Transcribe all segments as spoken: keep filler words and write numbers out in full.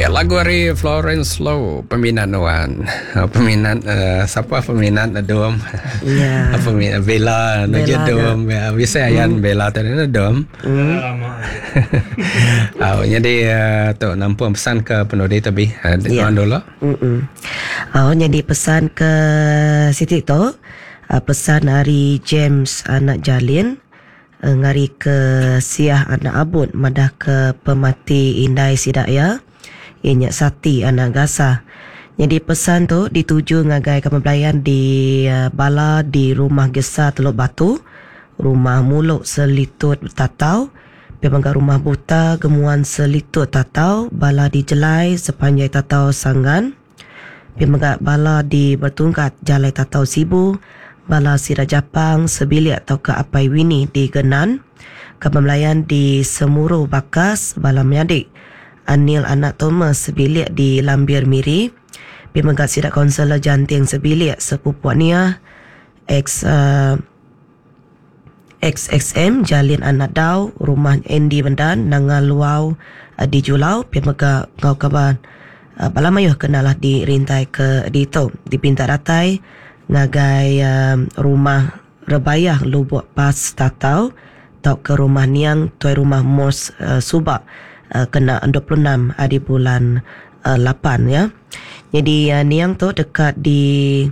Ya, lagu ari Florence Low, peminat nuan. Peminat uh, siapa peminat Dom? Ya. Peminat Bella, Bella Dom. Ya, bisa ayan Bella tadi Dom. Hmm. Oh, jadi uh, tu nampung pesan ke penudi tapi uh, Ya. dulu. Mm-mm. Oh, jadi pesan ke Siti tu, uh, pesan ari James anak Jalin, uh, ngari ke Siah anak Abud madah ke pemati indai sidak ya. Ianya Sati anak Gasa. Jadi pesan tu dituju ngagai kaban belayan di uh, bala di rumah Gesa Teluk Batu, rumah Muluk Selitut Tatau, pemangga rumah Buta Gemuan Selitut Tatau, bala di Jelai sepanjai Tatau Sanggan, pemangga bala di Bertungkat Jalai Tatau Sibu, bala Sira Japang Sebilik atau ke Apai Wini di Genan, kaban belayan di Semuru Bakas, bala menyadik Anil anak Thomas sebilik di Lambir Miri, pemangga Sira Konselor Janting sebilik sepupu Nia, ex uh, X X M Jalin anak Dau, rumah Andy Bendan, Nanga Luau uh, di Julau, pemangga ngau kaban uh, bala mayuh kenalah di rintai ke ditu dipinta datai ngagai uh, rumah Rebayah Lubuk Pas Tatau tau ke rumah Niang tuai rumah Mos uh, Subak uh, kena dua puluh enam hari bulan uh, lapan ya. Jadi uh, Niang tu dekat di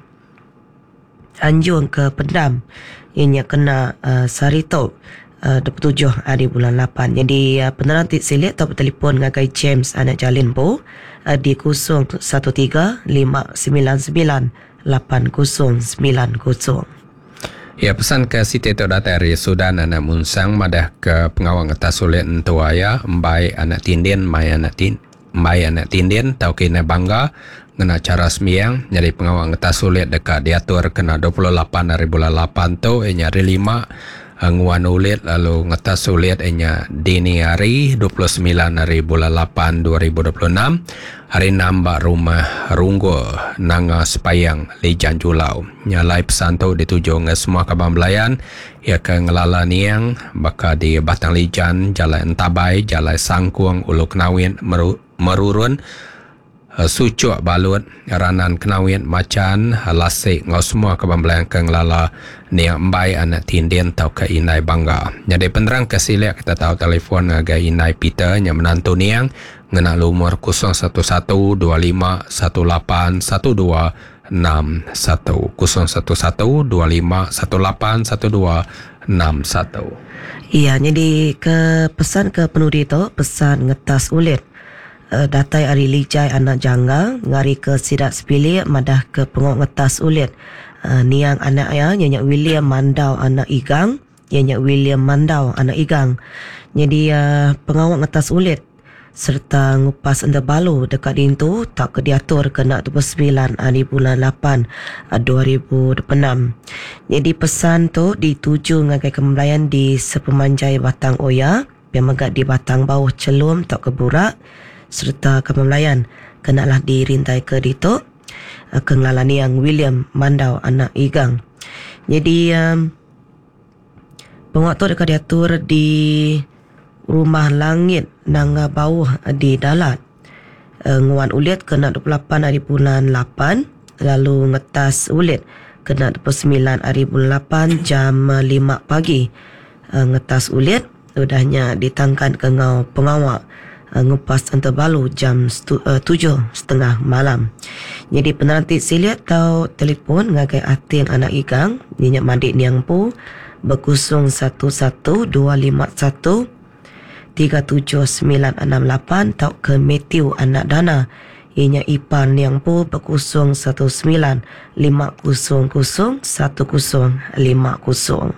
Anjung ke Pendam. Ianya kena uh, Sarito uh, dua puluh tujuh hari bulan lapan. Jadi uh, penerang ti silik atau bertelefon ngagai James anak Jalin Bo uh, di kosong satu tiga lima sembilan sembilan lapan kosong sembilan kosong. Ya, pesan ke Siti tu datang dari Sudan anak Munsang madah ke pengawang atas sulit entua ya embai anak tindin mai anak tin mai anak tindin tau kena bangga ngena cara sembiang. Jadi pengawang atas sulit dekat diatur kena dua puluh lapan hari bulan lapan tu inya hari lima nguan ulit lalu ngetas sulit inya dini hari dua puluh sembilan hari bulan lapan dua ribu dua puluh enam hari enam bak rumah Runggo Nanga Sepayang Lijan Julau. Nyalai pesan tu dituju nge semua kaban belayan ya ke ngelala niang baka di Batang Lijan, Jalan Entabai, Jalan Sangkuang, Ulu Kenawin, Meru, Merurun, Sucuk Balut, Ranan Kenawin, Macan, Lasik, ngau semua kaban belayan ke ngelala niang embai anak tindin tau ke Inai Bangga. Jadi penerang ke silik kita tahu telefon ngagai Inai Peter yang menantu niang ngena lumur kosong satu satu dua lima satu lapan satu dua enam satu kosong satu satu dua lima satu lapan satu dua enam satu. Iya, jadi ke pesan ke penudi tu pesan ngetas ulit. Uh, datai ari Lijai anak Jangga ngari ke Sidak Sepilik madah ke pengok ngetas ulit. Uh, niang anak ya nyanyak William Mandau anak Igang, nyanyak William Mandau anak Igang. Jadi uh, pengawak ngetas ulit serta ngupas enda balu dekat dintu tak ke diatur kena dua puluh sembilan hari bulan lapan dua ribu dua puluh enam. Jadi pesan tu dituju ngagai kembelayan di sepemanjai Batang Oya, pemegak di Batang Bauh Celum tak ke Burak serta kembelayan kenalah dirintai ke ditu ke ngelalani yang William Mandau anak Igang. Jadi um, penguat tu dekat diatur di Rumah Langit Nanga Bauh di Dalat. Uh, nguan ulit kena dua puluh lapan hari bulan lapan, lalu ngetas ulit kena dua puluh sembilan hari bulan lapan jam lima pagi. Uh, ngetas ulit udahnya ditangkan ke ngau pengawak uh, ngupas antabalu jam stu, uh, tujuh setengah malam. Jadi penanti siliat tau telefon ngagai Ating anak Igang minyak mandik niang pu berkusung satu satu dua lima satu tiga tujuh sembilan enam lapan tau ke Matthew anak Dana ianya ipar niang pu berkusung satu sembilan lima kosong kosong satu kosong lima kosong.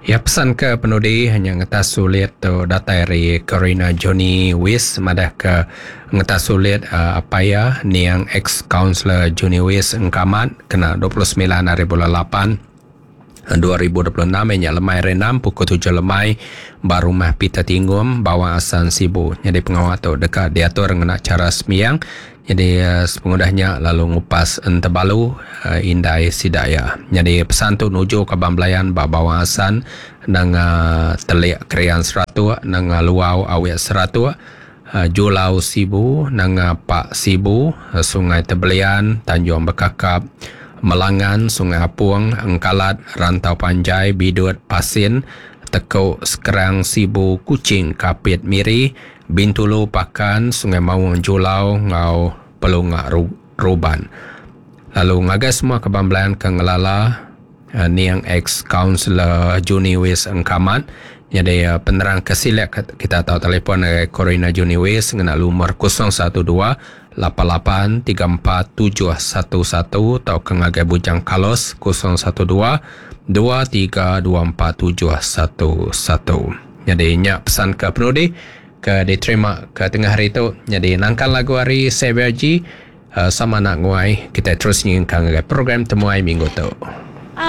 Ya, pesan ke penudi hanya ngetas sulit tu datai dari Karina Johnny Wis madah ke ngetas sulit uh, apa ya niang ex counselor Johnny Wis engkamat kena dua puluh sembilan hari bulan lapan dua ribu dua puluh enam nya lemai renam pukul tujuh lemai baru rumah Peter Tinggum Bawang Asan Sibu. Jadi pengawal tu dekat diatur ngena cara sembiang. Jadi uh, sepengudahnya lalu ngupas entebalu uh, indai sidaya. Jadi pesan tu nuju ke Bamblayan ba Bawang Asan nang uh, telik krian seratus nang uh, luau awet seratus uh, Julau Sibu, Nanga Pak Sibu, uh, Sungai Tebelian, Tanjung Bekakap, Melangan, Sungai Apung, Engkalat, Rantau Panjai, Bidut, Pasin, Tekuk, Sekerang, Sibu, Kuching, Kapit, Miri, Bintulu, Pakan, Sungai Maung, Julau, Ngau, Pelunga, Ruban. Lalu ngagai semua kebambelan ke ngelala uh, niang ex-counselor Juniwis Engkamat. Jadi uh, penerang kesilak kita tahu telefon dari Corina Juniwis ngena lumur kosong satu dua lapan lapan tiga empat tujuh satu satu atau ke ngagai Bujang Kalos kosong satu dua dua tiga dua empat tujuh satu satu. Jadi nyak pesan ke penudi ke diterima ke tengah hari itu. Jadi nangkan lagu hari Xavier G uh, sama nak nguai kita terus nyingkang ke program temuai minggu tu.